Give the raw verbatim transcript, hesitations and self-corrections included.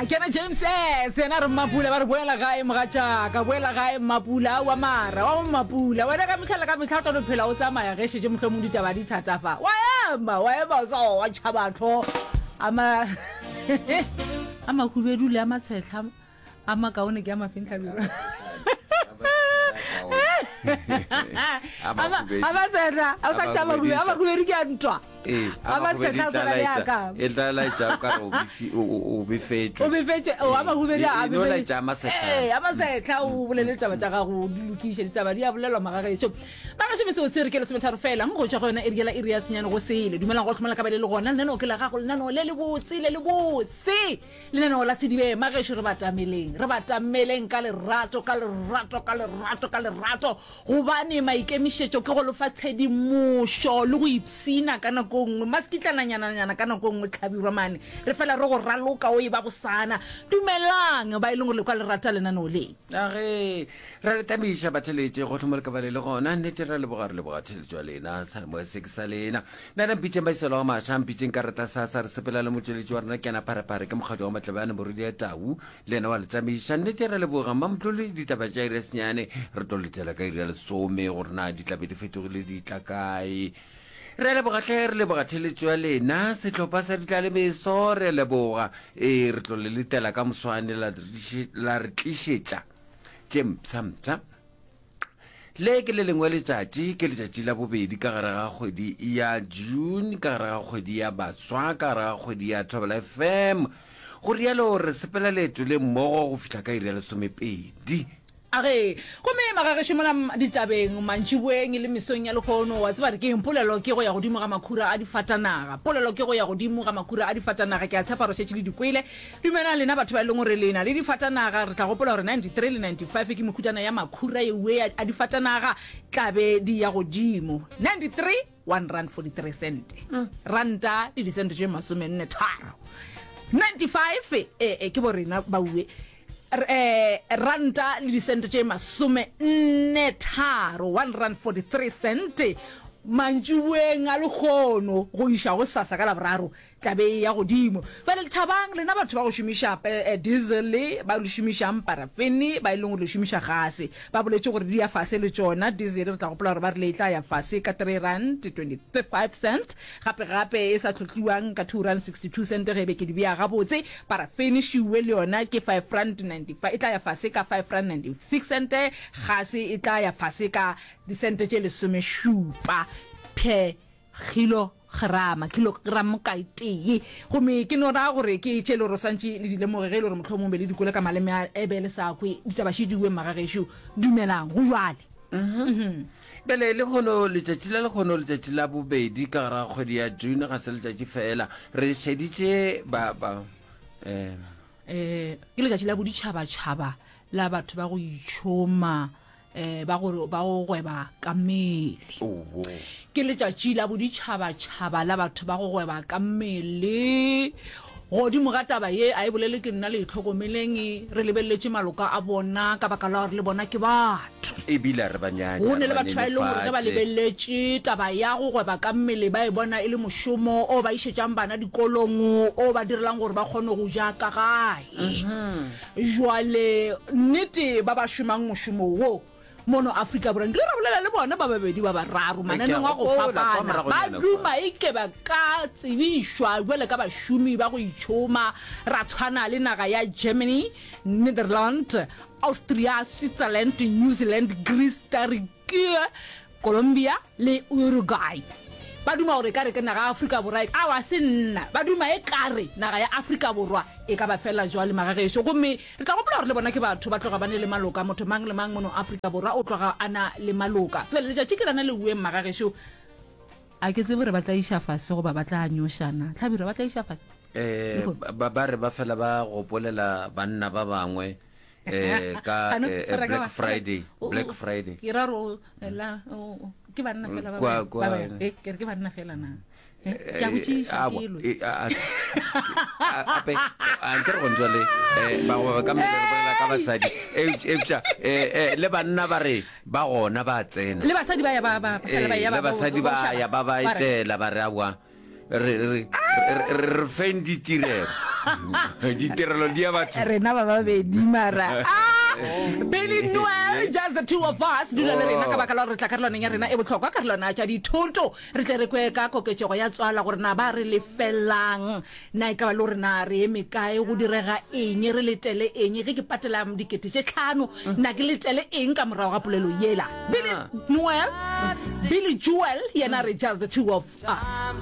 Kena James S yena re Mmapula, ba re boela gae mogatšaka, boela gae Mmapula. Aowa mara wa Mmapula wena ka mehla le ka mehla o tlo no phela o tsamaya ge šetše mohlomong ditaba di thata fa wa ema wa ema o sa wa tšhabatho a ma a mahubedu le a matshetlha a makaone ke a mafeng tlhabiro a matshetlha a sa tšhaba a mahubedu ke a ntwa a matshetlha a tshwana le a ka e tla laetša o ka re o befi- o- o- o befetšwe o befetše o a mahubedi a E- e no laetša a masetlha. ee a masetlha o bolele ditaba tša gago di lokiše ditaba di a bolelwa magagešo magešo metsotso re ke lesometharo fela go tšwa go yona iri yela iri ya senyane go sele dumelang go tlhomela ka ba le le gona lenaneo ke la gago lenaneo le le botse le le botse lenaneo la sedibe magešo re batameleng re batameleng ka lerato ka lerato ka lerato ka lerato gobane maikemišetšo ke go lefa tshedimošo le go ipshina ka nako nngwe masekitlananyananyana ka nako nngwe tlhabirwa mane re fela re go raloka o e ba bosana dumelang ba e leng gore le kwa le rata lenaneo le age ra le tamiša batheletše go tlhomo le ka ba le le gona nnete ra leboga re leboga theletšo ya lena salemoya se ke sa lena nna mpitšeng baiselo wa maša mpitšeng ka reta sa sa re sepela le motšweletši wa rena ke ena pharephare ke mokgatlo wa matlebane morudi ya tau le ena wa le tsamaiša nnete ra leboga mmamotlole ditaba tša iri ya senyane re tlo letela ka iri ya lesome gore na di tlabe di fetogile di tla kae re a leboga hle re leboga theletšo ya lena sehlopha sa ditlalemeso re a leboga ee re tlo le letela ka moswane la re la re tlišetša tše mpsha-mpsha le ke le lengwe letšatši ke letšatši la bobedi ka gare ga kgwedi ya June ka gare ga kgwedi ya baswa ka gare ga kgwedi ya Thobela F M go rialo re sepela leeto le mmogo go fihla ka iri ya lesomepedi. Age, gomme magagešo mola ditabeng mantšiboeng le mesong ya lehono, wa tseba re ke eng? Polelo ke go ya godimo ga makhura a difatanaga. Polelo ke go ya godimo ga makhura a difatanaga. Ke a tshepa re šetše le di kwele. Dumelang lena batho ba e leng gore le na le difatanaga. Re tla gopola gore ninety-three le ninety-five ke mehutana ya makhura eue a difatanaga tla be di ya godimo. ninety-three, one rand forty-three cent. Ranta le disente tše masomenne tharo. ninety-five, e, e, ke bo rena ba ue. Eh, ranta le disente tše masome nne tharo, one rand forty-three cent. Mantšiboeng a lekgono go iša go sasa ka Laboraro tla be e ya godimo. Bjale thabang lena batho ba go šomiša eh, diesel, ba le šomišang parafene, ba e leng gore le šomiša gase. Ba boletše gore di ya fase le tšona diesel, re tla gopola gore ba rile e tla ya fase ka three rand twenty-five cents, gape gape e sa tlhotliwang ka two rand sixty-two cent ge e be ke di bea gabotse. Parafene šiwe le yona ke five rand ninety-five, e tla ya fase ka five rand ninety-six cent, gase e tla ya fase ka disente tše lesomešupa per kilograma, kilogram ka e tee. Gomme ke no raya gore ke tše le gore swantše le di lemoge ge e le gore mohlomong be le di kwele ka maleme a ebe le sa kwe ditaba še diwe magagešo. Dumelang go jwale. Bjale lehono letšatši la lehono letšatši la bobedi ka gare ga kgwedi ya June ga se letšatši fela re šeditše ba ba eh Eh, ke letšatši la boditšhabatšhaba la batho ba go itšhoma eh ba go ba go gweba ka mmele. Owo. Ke letšatši la boditšhabatšhaba la batho ba go gweba ka mmele. Godimo ga taba ye a e bolele ke nna le itlhokomeleng re lebeleletše maloka a bona ka baka la gore le bona ke batho. Ebile re ba nyatša Go ne le batho ba e leng gore ge ba lebeletše taba ya go gweba ka mmele ba e bona e le mošomo o ba išetšang bana dikolong o ba direlang gore ba kgone go ja ka gae. Jwale nnete ba ba šomang mošomo wo mono Afrika Borwa nkile ra bolela le bona ba babedi ba bararo mananeng a go fapana ba duma e ke ba ka tsebišwa jwale ka bašomi ba go itšhoma ra tshwana le naga ya Germany, Netherland, Austria, Switzerland, New Zealand, Greece, Turkey, Colombia le Uruguay. Ba duma gore e ka re ke naga ya Afrika Borwa e awa se nna ba duma e ka re naga ya Afrika Borwa e ka ba fela jwale magagešo. Gomme re tla gopola gore le bona ke batho ba tloga ba ne le maloka, motho mang le mang mono Afrika Borwa o tloga a na le maloka. Jwale letšatši ke lana le ueng magagešo, a ke tsebe gore ba tla iša fase goba ba tla nyošana. Hlabirwa ba tla iša fase eh ba ba re ba fela ba gopolela banna ba bangwe eh ka eh, Black Friday, Black Friday. Ke ra ro la ke banna fela ba ba eh ke re ke banna fela na. Ke a botšiša ke lwe. Ape a nke re go ntšwa le eh ba go ba ka mmele re bolela ka basadi eupša eh le banna ba re ba gona ba tsena. Le basadi ba ya ba ba ba ya ba basadi ba ya ba ba etela ba re awa re re re feng ditirelo. Ditirelo di ya batho. Rena ba babedi mara. Ah, Billy Noel, just the two of us. Dula le rena ka baka la gore re tla karolwaneng ya rena e bohlokwa, karolwana tša dithoto. Re tle re kwe ka koketšego ya tswala gore na ba re lefelang. Na e ka ba le gore na re eme kae, go direga eng, re letele eng. Ge ke patela dikete tše tlhano, na ke letele eng ka morago ga polelo yela. Billy Noel, Billy Joel, yena re just the two of us.